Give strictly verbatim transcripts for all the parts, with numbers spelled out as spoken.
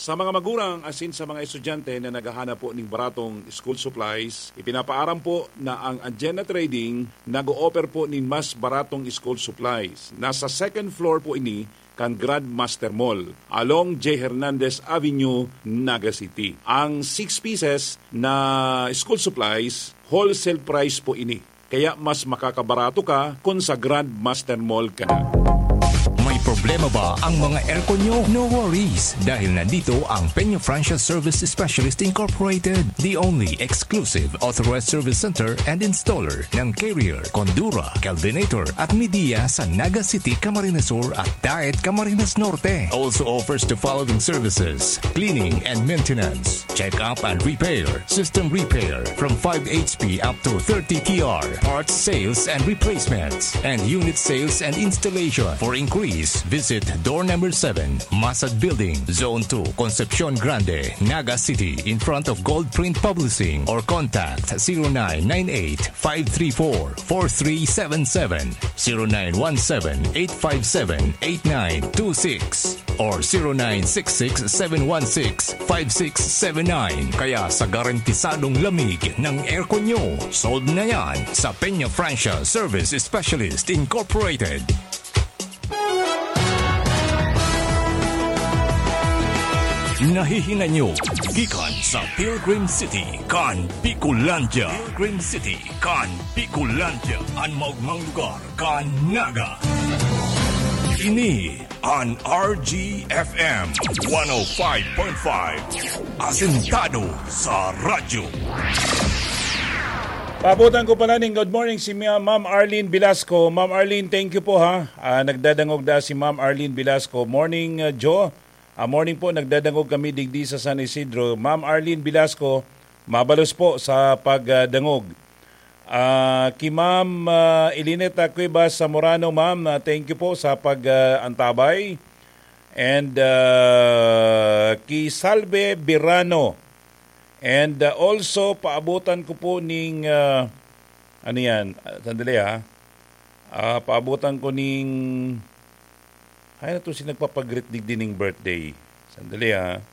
Sa mga magurang asin sa mga estudyante na naghahanap po ning baratong school supplies, ipinapaaram po na ang Agenda Trading nag-o-offer po nin mas baratong school supplies. Nasa second floor po ini kan Grandmaster Mall, along J Hernandez Avenue, Naga City. Ang six pieces na school supplies, wholesale price po ini. Kaya mas makakabarato ka kung sa Grandmaster Mall ka na. May problema ba ang mga aircon nyo? No worries, dahil nandito ang Peña Francia Service Specialist Incorporated, the only exclusive authorized service center and installer ng Carrier, Condura, Kelvinator at Midea sa Naga City, Camarines Sur at Daet, Camarines Norte. Also offers the following services: cleaning and maintenance, check-up and repair, system repair, from five H P up to thirty T R, parts sales and replacements, and unit sales and installation. For inquiries, visit door number seven, Masad Building, Zone two, Concepcion Grande, Naga City, in front of Gold Print Publishing, or contact zero nine nine eight five three four four three seven seven, zero nine one seven eight five seven eight nine two six or zero nine six six seven one six five six seven nine. Kaya sa garantisadong lamig ng aircon nyo, sold na yan sa Peña Francia Service Specialist Incorporated. Nahihinay nyo gikan sa Pilgrim City kan Bicolandia. Pilgrim City kan Bicolandia, an maogmang lugar kan Naga. Ini an R G F M one oh five point five, asentado sa radyo. Paabutan ko pala ning good morning si Ma-, Ma'am Arlene Velasco. Ma'am Arlene, thank you po, ha. Ah, nagdadangog na si Ma'am Arlene Velasco. Morning, ah, Jo. Ah, morning po, nagdadangog kami digdi sa San Isidro. Ma'am Arlene Velasco, mabalos po sa pagdangog. Ah, ki Ma'am, ah, Elineta Cuevas Zamorano, ma'am, ah, thank you po sa pag, ah, antabay. And, ah, ki Salve Birano. And, ah, also, paabutan ko po ning, ah, ano yan? Ah, sandali, ha. Ah, paabutan ko ning, ay, na to si nagpapagreet digdi ning birthday. Sandali, ha.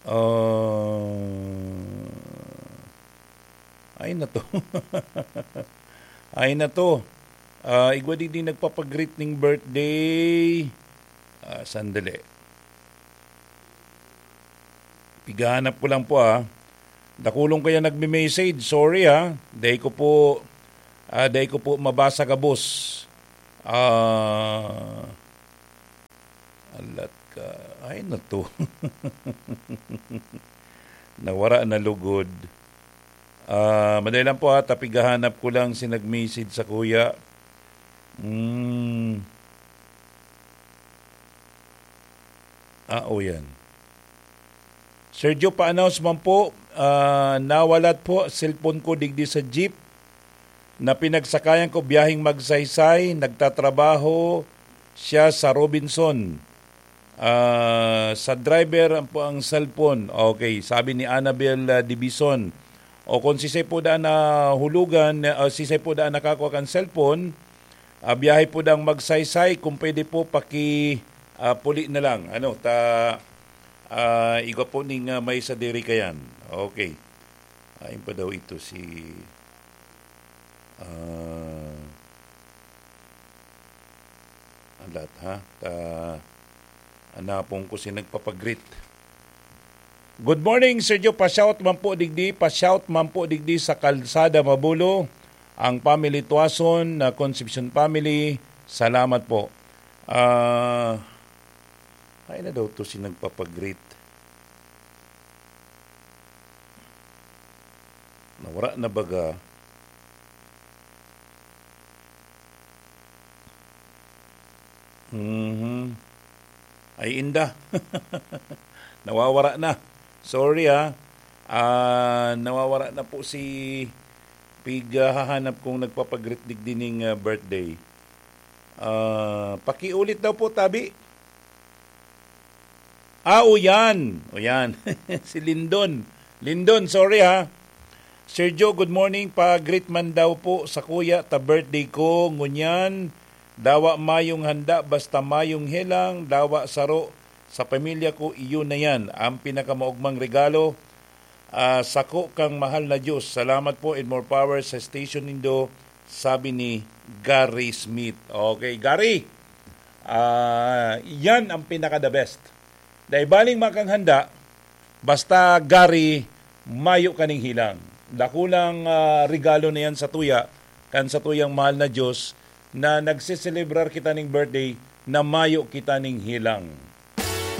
Ah, ay, na to. Ay, na to. Ah, igwa digdi nagpapagreet ning birthday. Ah, sandali. Pigahanap ko lang po, ah. Dakulong kaya nagme-message. Sorry, ah. Dai ko po, ah, dai ko po mabasa gabos. Ah, alat ka. Ay, na to. Nawara na lugod. Ah, madali lang po, ha. Tapigahanap ko lang si nag-message sa kuya. Hmm. Ah, o yan. Sir Joe, pa-announce man po, ah, nawalat po cellphone ko digdi sa jeep na pinagsakayan ko biyaheng Magsaysay. Nagtatrabaho siya sa Robinson. Ah, sa driver po ang cellphone. Okay, sabi ni Annabel, ah, Dibison. O kung sisay po daan na hulugan, ah, sisay po daan nakakua kan cellphone, ah, biyahe po dang Magsaysay, kung pwede po, paki, ah, puli na lang. Ano, ta, ah, igwa po ning, ah, may sadiri kayan. Okay. Ayon pa daw ito si, ah, alat, ha? Ta, anapon ko si nagpapagreet. Good morning, Sir Joe. Pa-shout man po digdi, pa-shout man po digdi sa Kalsada Mabulo, ang family Tuason na Concepcion family. Salamat po. Ah, ay na daw to si nagpapagreet. Nawara na baga. Mhm. Ay, inda. Nawawara na. Sorry, ah. Ah, nawawara na po si pighahanap kong nagpapagreet digdi ning, ah, birthday. Ah, pakiulit daw po, tabi. Ah, o yan. O yan. Si Lindon. Lindon, sorry ha. Sir Joe, good morning. Pa-greet man daw po sa kuya ta birthday ko. Ngunyan, dawa mayong handa, basta mayong helang, dawa saro Sa pamilya ko, iyon na yan ang pinakamaugmang regalo. Ah, sako kang mahal na Diyos. Salamat po and more power sa station nindo, sabi ni Gary Smith. Okay, Gary, ah, yan ang pinaka-the best. Dai baling makang handa, basta, Gary, mayo kaning hilang. Dakulang, ah, regalo na yan sa tuya, kan sa tuyang mahal na Diyos, na nagseselebrar kita ning birthday, na mayo kita ning hilang.